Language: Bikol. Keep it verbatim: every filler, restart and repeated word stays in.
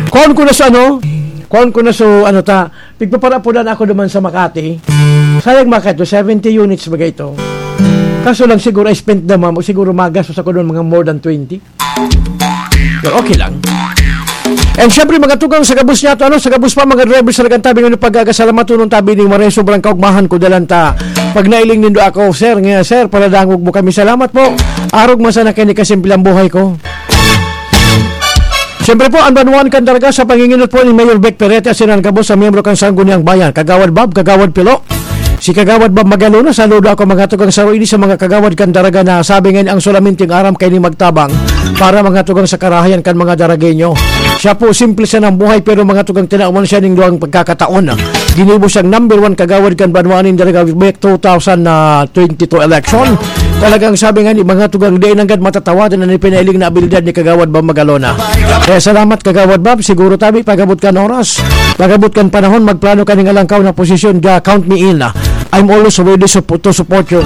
Kuhaon ko na sa ano, kuhaon ko na sa ano ta, pigpaparapudan ako naman sa Makati. Sayang mga ito, seventy units bagay ito. Kaso lang siguro I spent naman, o siguro magastos ako doon mga more than twenty. Pero okay lang. And syempre, mga tugang sa gabos niya, ano, sa gabos pa, mga driver sa Lagantabi, ano, pag-agasalamat, tunong tabi ni Maray, sobrang kaugmahan ko, dalan ta. Pag nailing nindo ako, sir, nga, sir, paladangog mo kami. Salamat po. Arog man sana kini kasimple ang buhay ko. Siyempre po, ang banwaan kan Daraga sa panginginot po ni Mayor Bec Perete at sinan gabos sa miyembro kan Sangguniang Bayan, Kagawad Bob, Kagawad Pilo, si Kagawad Bob Magalona, saludo ako mga tugang sa Roy, sa mga kagawad kan Daraga na sabi ngayon ang sulaminting aram kay ni magtabang para mga tugang sa karahayan kan mga Daragenyo. Siya po, simple siya ng buhay pero mga tugang tinawan siya ning duwang pagkakataon. Ginibo siyang number one kagawad kan banwaan nin Daraga Bec two thousand twenty-two election. Talagang sabi nga ni mga tugang, di nanggad matatawadan an ipinailing na abilidad ni Kagawad Bob Magalona. Kaya salamat, Kagawad Bob. Siguro tabi, pag-abot kan oras, pag-abot kan panahon, magplano ka ning alangkaw na posisyon, ja, count me in. I'm always ready sup-, to support you.